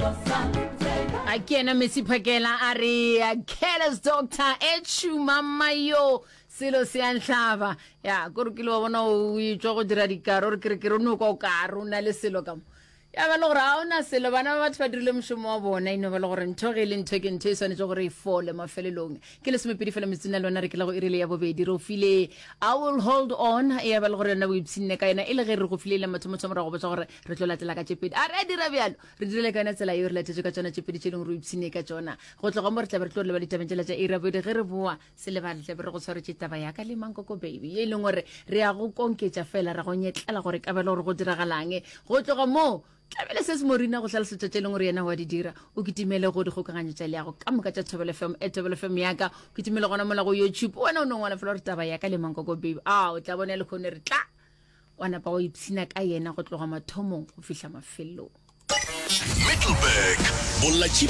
A ke yena Messi Phakela a re Careless Doctor e tšhuma mayo selo se a nhlaba ya kore kile wa bona o etšwa go dira dikaro re kere kere o no kwa o kare o na le selo ka mo ya ba le gore ga o na selo bana ba batho ba dirile mošomo wa bona e no ba le gore ntho ge e le ntho ke ntho e swanetše gore e fole mafelelong ke lesomepedi fela metsotso le wena re ke la go irile ya bobedi re o file i will hold on e ya ba le gore yona o ipshinne ka yona e le ge re go file e le mathomo tsa morago botsa gore re tlo latela ka tše pedi a re a dira bjalo re dirile ka yona tsela eo re latetše ka tsona tše pedi tše leng gore o ipshinne ka tsona go tloga mo re tlabe re tlo leba ditabeng tšela tša iri ya bobedi ge re boa Se lebale, tlabe re go tshwaretše taba ya ka le Mankoko Baby, ye e leng gore re ya go konketša fela, ra go nyetlela gore ka bjale gore go diragalang. Go tloga moo, tlabele se se Morina go hlalosetša tše e leng gore yena wa di dira. O kitimele go dikgokaganyo tša leago ka moka tša Thobela FM, at Thobela FM ya ka. O kitimele gona mola go YouTube. Wena o no ngwala fela gore taba ya ka le Mankoko Baby. A o tla bona lehono re tla wa napa wa ipshina ka yena go tloga mathomong go fihla mafelelong. Middelburg, Bolatši.